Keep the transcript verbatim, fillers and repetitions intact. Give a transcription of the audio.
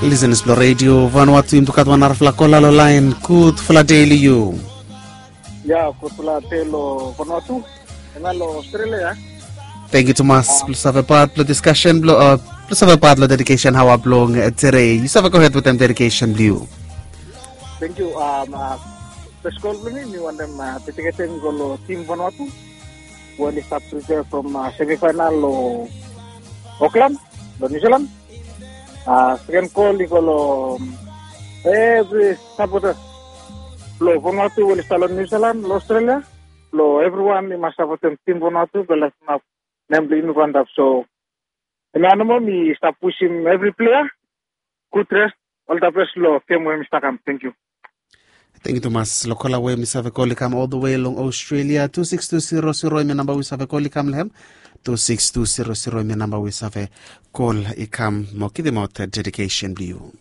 Lisenas blong redio Vanuatu, yumi tu gat wan narafala kola long laen. Gudfala dei long yu. Ya, gudfala dei long Vanuatu. Hemia long Australia ya. Tangkiu tumas blong save pat blong diskasen blong, blong save pat long dedikesen aoa blong tede. Yu save gohed wetem dedikesen blong yu. Tangkiu. Fes kol blong mi, mi wantem dediketem i go long tim Vanuatu we oli stap pripea from semifainal long Okland long Niu Silan. Seken kol i go long evri sapota blong Vanuatu we oli stap long Niu Silan, long Australia. Blong evriwan i mas sapotem tim Vanuatu blong leftem ap nem blong yumi go antap. So hemia nomo, mi stap wisim evri plea gud res, ol da bes long gem we mi stap kam. Tangkiu. Tangkiu tumas long kola we mi save kol i kam ol da we long Australia. Tu sikis tu siro siro hemia namba we yu save kol i kam long hem. Tu sikis tu siro siro hemia namba we yu save kol i kam mo givimaot dedikesen blong yu.